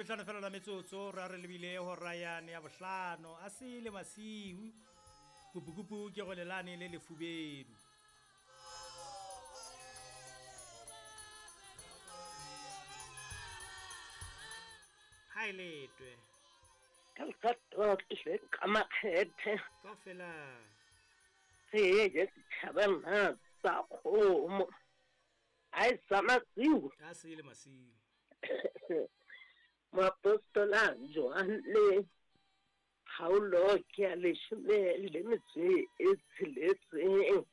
tlhano fela la metsotso ra re lebile hora yane ya bohlano a sele masiu kupukupu ke go lelane le lefubedu. Ha e letwe. Ka lerato le ka makgethe. Kaofela. Re je setšhabana sa kgomo. A e sa masiu. A sele masiu. Moapostola Johanne kgaolo ke ya leshome le metso e tsheletseng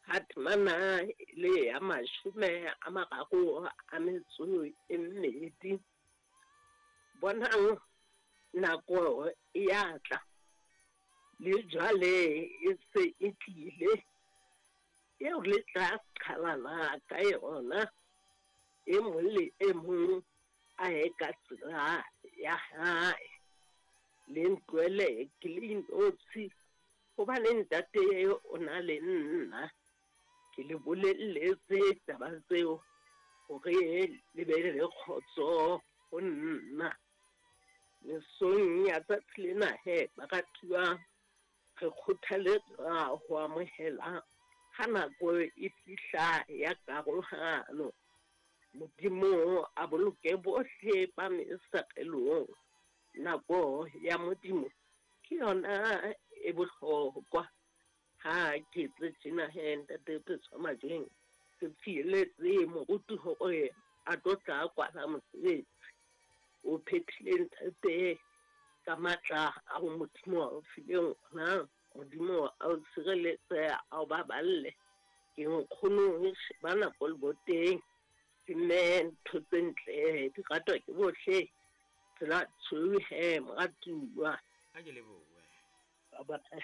ha temana e le ya 32. Bonang nako e ya tla, le jwale e se e tlile, eo le tla qhalana ka yona, e mong le e mong a ye ka tsela ya hae. Le ntlohele ke le inotshi, hobane Ntate o na le nna. Ke le bolelletse taba tseo hore le be le kgotso ho nna. Mesong ya tsatsi lena he, baratuwa, re kgothaletswa ho amohela ha nako e fihla ya karohano. Modimo a boloke bohle ba mesarelong. Nako ya Modimo ke yona e bohlokwa. Ha ke tse tjena he, Ntate Phetswa Majweng, ke fieletse moruti hore a tlo tla kwala mosebetsi. O phethile Ntate ka matla ao Modimo a o fileng ona. Modimo a o tshireletse, a o baballe. Ke nkgono sheba nako le boteng. Ke mme ntho tse ntle di ratwa ke bohle. Tsela tshweu he, moratuwa. A ke lebohe. Bye-bye.